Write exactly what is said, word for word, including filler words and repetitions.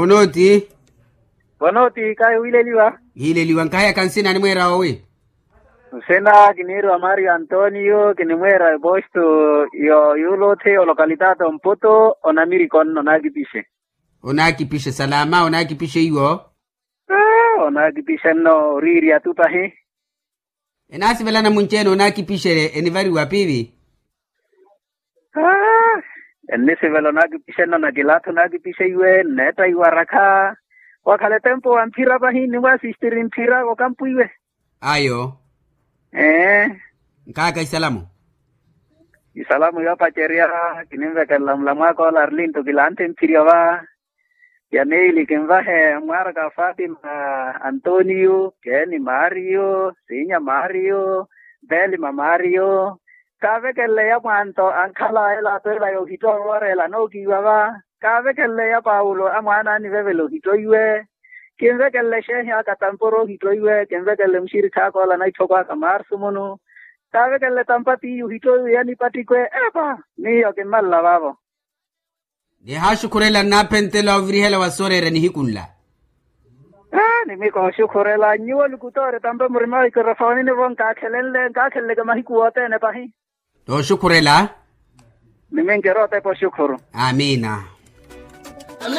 Onooti. Onooti kahi wiileliwa. Hiileliwa nkahayaka nsina animweera owi? Nsina kiniiriwa mario antonio kinimweera eposto. Yo yuuloothe olokalitaato mpoto onamiriko nno naakipixe. Onaakipixe salama onaakipixe iwo. Onaakipixe nno oriiri atu pahi. Enaasivelana munci-ene onaakipixele enivariwa piivi? Ennisivela onaakipixenno na kilaatha onaakipixeiwe nneetta iwarakha. Wakhala etempo wa mphira pahi nimwaasistiri mphira okampwiwe. Ayo. Ee. Nkaaka isalamu. Isalamu yoopacerya. Kininvekelela mulamwaaka ola arlinto kilaanthe mphirya va. Ya meili kinvahe mwaaraka fatima, antonio keeni mario siinya mario, belima mario. Kaavekelele ya mwanto ankhala ela atweela yoohittowa wooreela anookiiwa va. Kaavekelele ya paulo amwaana anivevela ohittoiwe. Kinvekelele xeehi aka tamporo ohittoiwe kinvekelele muxirikhi aka ola na itthoko aka marsu munu. Kaavekelele tampa tiiyi ohittoiwe ya nipattikwe. Epa miyo kimmalela vaavo. Nihaaxukhurela nnaaphenttela ovirihela wa sooreera nihiku nla. Nimikooxukhurela nyuwo lukutoori tampa murima wa ikirofoni nivo nkaakhelenle nkaakhenleke mahiku wothene pahi. Nooxukhurela. Niminkerotepa oxukhuru. Amiina.